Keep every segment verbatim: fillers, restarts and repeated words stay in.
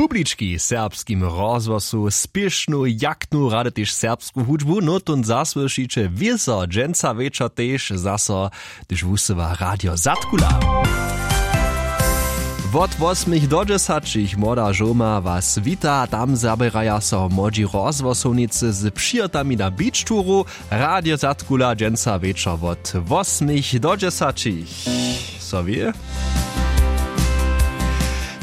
Publički w serbskim rozhłosu spěšnu jachtnu rady tež serbsku hudźbu nótón zasłyšiće wězo dźensa wječor tež zaso, hdyž wusyła radio zadkula. Wot wosmich do dźesaćich młoda žołma was wita. Tam zaběraja so młodźi rozhłosownicy z přijotami na beach touru. Radio zadkula dźensa wječor wot wosmich do dźesaćich. So wě,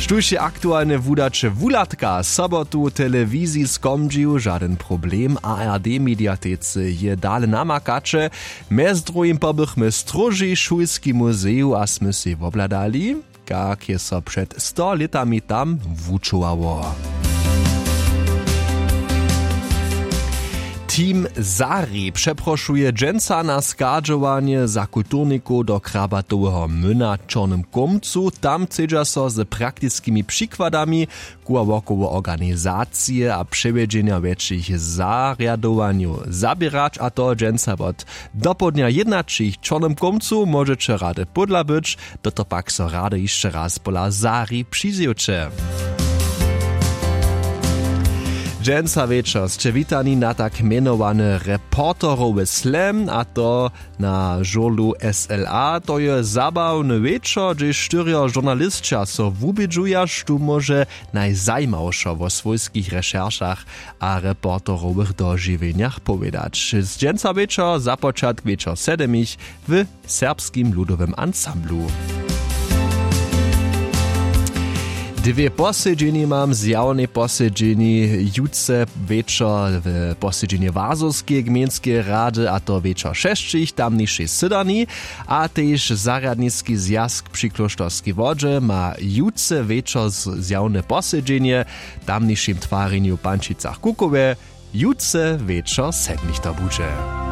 štóž je aktualne wudaće wuhladka sobotu w telewiziji skomdźił žadyn problem a r d mediatecy je dale namakaće. Mjez druhim pobychmy w stróži šulskim muzeju a smy sej wobhladali, kak je so před sto lětami tam wučowało. Team zari přeprošuje dźensa na schadźowanje za kulturnikow do krabatoweho myna w čornym kómcu. Tam chcedźa so z praktiskimi přikładami koła wokoło organizacije a přewjedźenja wjetšich zarjadowanjow zaběrać a to dźensa wot dopołdnja jědnaćich w čornym kómcu. Móžeće rady pódla być, do to pak so rady hišće raz pola zari přizjewće. Dźensa wječor sće witani na tak mjenowany reporterowy slam a to na žurlu sla. To je zabawny wječor hdźež štyrjo žurnalisća so wubědźuja štó móže najzajimawšo wo swójskich rešeršach a reporterowych dožiwjenjach powědać. Dźensa wječor započatk wječor sedmich w serbskim ludowym ansamblu. Dwě posedźenje mam zjawnej posedźenji jutře wječor w posedźenje wazorskeje gmejnskeje rady a to wječor šesćich tamnišej sydarni. A tež zarjadniski zwjazk při klóšterskej wodźe ma jutře wječor zjawne posedźenje w tamnišim twarjenju w pančicach kukowje. Jutře wječor sedmich to budźe.